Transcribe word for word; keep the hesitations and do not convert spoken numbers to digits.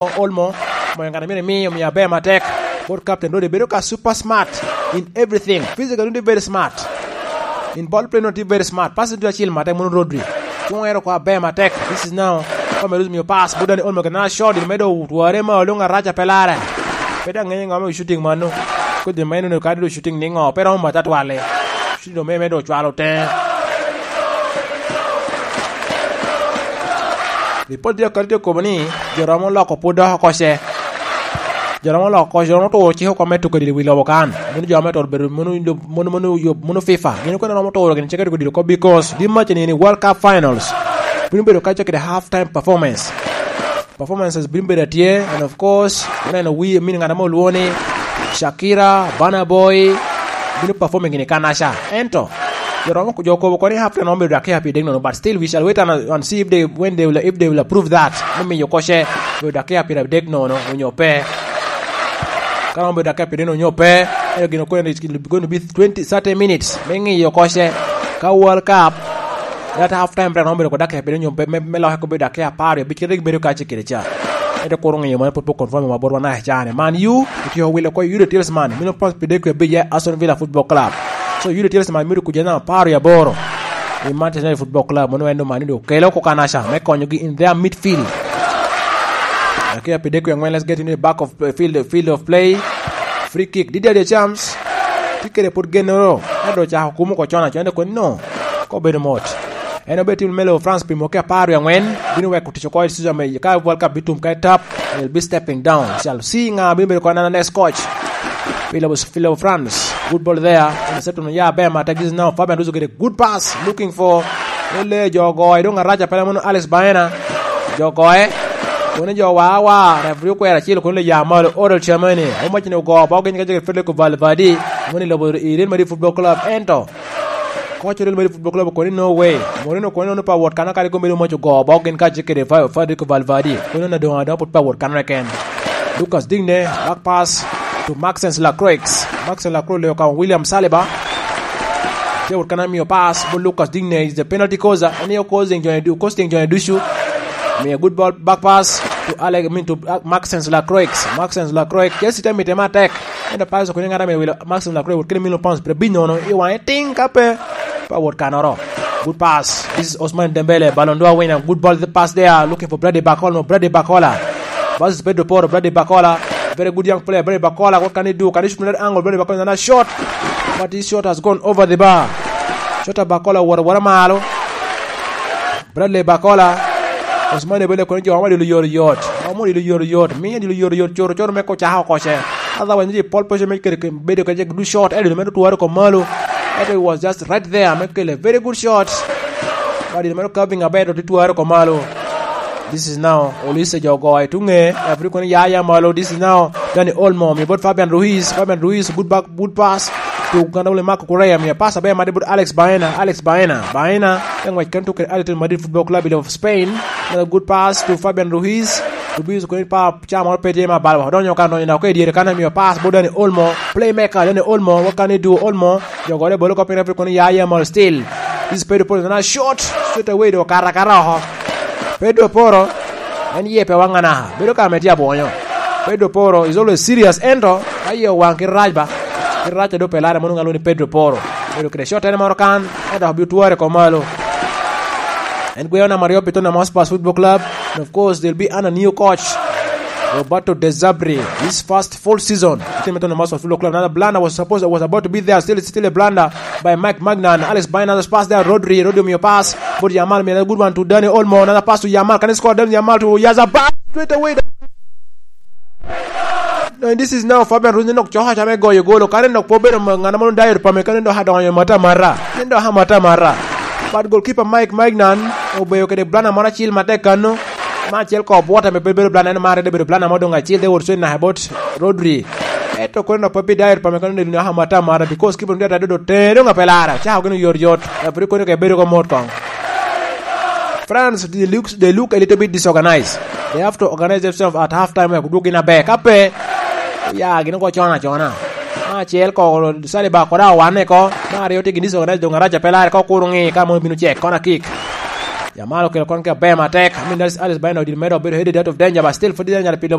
Olmo, moyo ngat a myero imi, omio aber matek. Kot captain Rodri bedo ka super smart in everything. Physical only very smart. In ball play no tye very smart. Pass tye acil matek mono Rodri. Cungo ero kwa aber matek. This is now. Kome Rodri mio pass. Budani Olmo kena shot. Medo tware ma olunga raca pelare. Pe daŋ ŋeyo ŋo me shooting mano. Kodi ma eno kadi do shooting ni ŋo. Pe romo matatwale. Shooting do me medo cwalo te. Ripot tye akati tye kobo ni jo romo loko pwod dok oko ce. Jo romo loko oko, jo romo turo cik oko me tuko dilo wi lobo kan. Mono jo me turo bedo mono, mono, mono, mono FIFA. Gin okene romo turo gin cik tuko dilo oko because di match ni ni World Cup Finals. Bino bedo ka cakere half time performance. Performances bino bedo atye, and of course, oneno wi min ngat mo olwo ni Shakira, Burna Boy, bino performing in Kanasha. Ento, jo romo, jo kobo koni half time romo bedo dakia pi dek nono, but still we shall wait and, and see if they, when they will, if they will approve that. Me miyo koce, bedo dakia pi dek nono, onyo pe. Ka romo bedo dakia pi dek nono, onyo pe, ento gin okone, it's going to be twenty, thirty minutes. Me ngiyo koce, ka World Cup, that half time break, romo bedo kod dakia pi dek nono, onyo pe, me, me loke ko bedo dakia apar, abic kede gibedo kace kede ca. Ento kuro ngiyo mano pwod pe confirm ma botwa na cane. Man U, otyeko wilo ko Yudith Tielemans, mino pas pi dek abic ya Aston Villa Football Club. So, Yudith Tielemans mito kuja na apar aboro. I Manchester United Football Club, mono en man do kelo ko Kanasha, me konyogi in their midfield. Dakia pi dek angwen, let's get into the back of play, field, field of play. Free kick, Didier Deschamps, tye kede pwod gennoro, ento ocako kumo ko con acon, ento kono, ko bedo mot. En obedo tim me lobo France pi mwaki apar wie angwen, bino weko tic oko i season me ka World Cup bitum ka etap, and he'll be stepping down. Shall see nga bino bedo kona next coach. Philo, Philo France, good ball there. Interception ya ber matek, this is now Fabian Ruiz get a good pass, looking for, ole jo goye, dong araca pala mono Alex Baena. Jo goye, kone jo wa wa, referee okwero acel, kone le ya malo, Odol Chamani. Omac ni ogo, ba ogeny ka jege Federico Valverde, mono i lobo i Real Madrid Football Club, ento Koc Real Madrid Football Club okoni, "No way." Mourinho okoni, "Ono pa wot kano kadi kombeddi omoc ogo bok gin kacel kede Fa-, Federico Valverde." Koni, "Ono adoŋ adoŋ pwod pa wot kano keken." Lucas Digne, back pass to Maxence Lacroix. Maxence Lacroix leo ka William Saliba. Te wot kano mio pass, but Lucas Digne is the penalty causer. En aye causing jone du-, causing jone ducu. Mio good ball, back pass to Alex, I mean to, uh, Maxence Lacroix. Maxence Lacroix. Chelsea te mite matek. Ento pass okoni ŋat ame wilo Maxim Lacroix wot kede million pounds pyerabicel nono i waŋe tiŋ ka pe, pe awot kanoro. Good pass. This is Ousmane Dembele, Ballon d'Or winner. Good ball, the pass there. Looking for Bradley Barcola. No, Bradley Barcola. Versus Pedro Porro, Bradley Barcola. Very good young player, Bradley Barcola. What can he do? Can he shoot from that angle? Bradley Barcola, another shot. But his shot has gone over the bar. Shot of Barcola, wara, wara malo. Bradley Barcola, Ousmane Dembele kono jo ma dilo yot yot. Amo dilo yot yot. Miyo dilo yot yot, coro coro me ko caka oko ce. Otherwise, ni pole position me kede ke-, bedo ka jek du shot, eh, dilo me tware ko malo. Ento it was just right there, me kele very good shot. But dilo me curving aber, to tware ko malo. This is now Olise jo goyo tuŋe. Every kono ya ya malo. This is now Dani Olmo, mi bot Fabian Ruiz. Fabian Ruiz, good back, good pass to Gandawule Marco Correa, mi pass aber made bot Alex Baena. Alex Baena. Baena, te ngwec kene tuko kede Atletico Madrid Football Club of Spain. Another good pass to Fabian Ruiz. Ruiz koni pa ca moro pe tye ma bal. Odonyo kan, donyo dok i dyere kan, amiyo pass bot Dani Olmo. Playmaker, Dani Olmo, what can he do? Olmo, jo gode bolo ko piny, referee kono ya ya malo still. This is Pedro Porro, na shot, straight away, do kara kara oko. Pedro Porro, en ye pe waŋ anaka. Bedo ka me tye abwonyo. Pedro Porro is always serious, ento, aye waŋ kit rac ba. Kit rac a do pe lare mono ŋalo ni Pedro Porro. Bedo kede shot en moro kan, ento obitware ko malo. En gweyo namba aryo pi Tottenham Hotspur Football Club. And of course, there'll be under new coach, Roberto De Zerbi. His first full season. Team Tottenham Hotspur Football Club. Another blunder was supposed, was about to be there. Still, it's still a blunder by Mike Maignan. Alex Baena, another pass there. Rodri, Rodri, your pass. But Yamal made a good one to Dani Olmo. Another pass to Yamal. Can he score? Dani Yamal to Oyarzabal. Straight away. And this is now Fabian Ruiz, nok coka came goyo golo. Kare nok po bedo ma-, ŋana mono Dayot Upamecano, kane dok adonyo mata mara. Kane dok amata mara. But goalkeeper Mike Maignan obedo kede blana moro acil matek kano. Ma acel ko bwota me bedo blana, en mare de bedo blana mo dong acil de wot cwen naka bot Rodri. Eto kono nok pe pi Dayot Upamecano, kane dok amata mara because keeper dong adodo te dong ape lara. Cako gino yot yot. Referee kono ke bedo ko mot kong. France, they look, they look a little bit disorganized. They have to organize themselves at half time, wek odwog gin aber. Ka pe, ya, gin ogo con acona. Ma acel ko, Saliba kod awane ko. Ma aryo tye gin disorganized, dong araca pe lare ko, kuro ŋi ka mono bino cek, corner kick. Jamal okelo kongi aber matek. I mean, Alice Baino did medo obedo headed out of danger, but still pwod danger pi